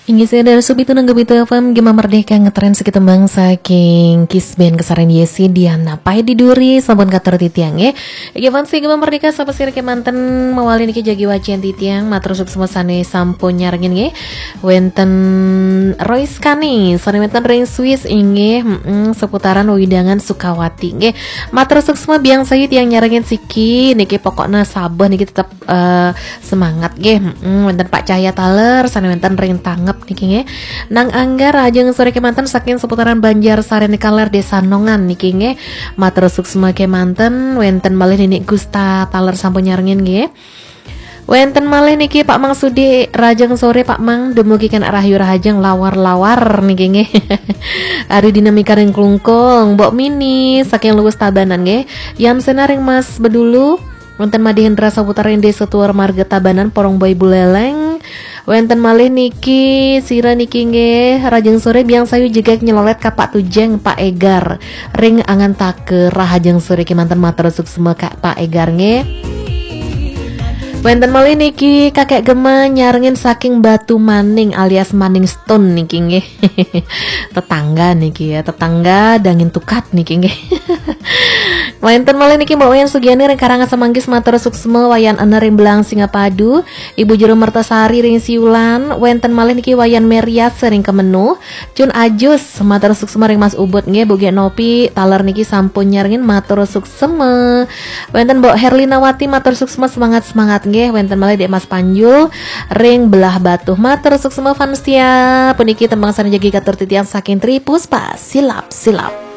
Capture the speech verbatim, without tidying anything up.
Inggih, saya dari Subitu Nangga Bitu F M, Gema Merdeka ngetren sekitu bangsa king Kisben kesaren Yesi Diana Pai di Duri, sampun katur titiang, nggih. Inggih, fans Gema Merdeka, sapa sira kemanten mawali niki jagi wacian titiang, matur suksma sane sampun nyarengin, nggih. Wenten Royce Kani, sane wenten ring Swiss, inggih, mm, seputaran wewidangan Sukawati, nggih. Matur suksma biang sayu tiang nyarengin siki, niki pokokna sabeh niki tetep eh, semangat nggih. Mm, wenten Pak Cahya taler, sane wenten ring Tangep niki nggih. Nang Angga, rahajeng sore kemanten saking seputaran Banjar Sari nikaler Desa Nongan niki nggih. Matur suksma kemanten, wenten malih Nini Gusta taler sampun nyarengin nggih. Wenten malih niki Pak Mang Sudi, rahajeng sore Pak Mang, dumugi kenak rahayu rahajeng lawar-lawar niki nggih. Ari dinamika ring Klungkung, Mbok Mini saking Luwus Tabanan nggih. Yamsena ring Mas Bedulu, wenten Made Hendra saputar ring Desa Tuar Marga Tabanan, Porong Boy Buleleng. Wenten malih niki, sira niki nggih, rahajeng sore biang sayu jegeg nyelolet ka Pak Tujeng, Pak Egar. Ring Angantaka, rahajeng sore kemanten, matur suksma ka Pak Egar nggih. Wenten malih niki Kakek Gema nyarengin saking Batu Maning alias Maning Stone niki nggih. Tetangga niki ya, tetangga dangin tukat niki nggih. Wenten malih niki Mbok Wayan Sugiani ring Karangasem Manggis, matur suksma, Wayan Ener ring Belang Singapadu, Ibu Jero Mertasari ring Siulan, wenten malih niki Wayan Merias ring Kemenu, Cun Ajus, matur suksma ring Mas Ubud nggih, Bu Gek Nopi taler niki sampun nyarengin, matur suksma. Wenten Mbok Herlinawati, matur suksma, semangat-semangat nggih. Wenten malih Dek Mas Panjul ring Belah Batu, matur suksma. Fans setia puniki tembang sane jagi katur titiang saking Tri Puspa, silap-silap.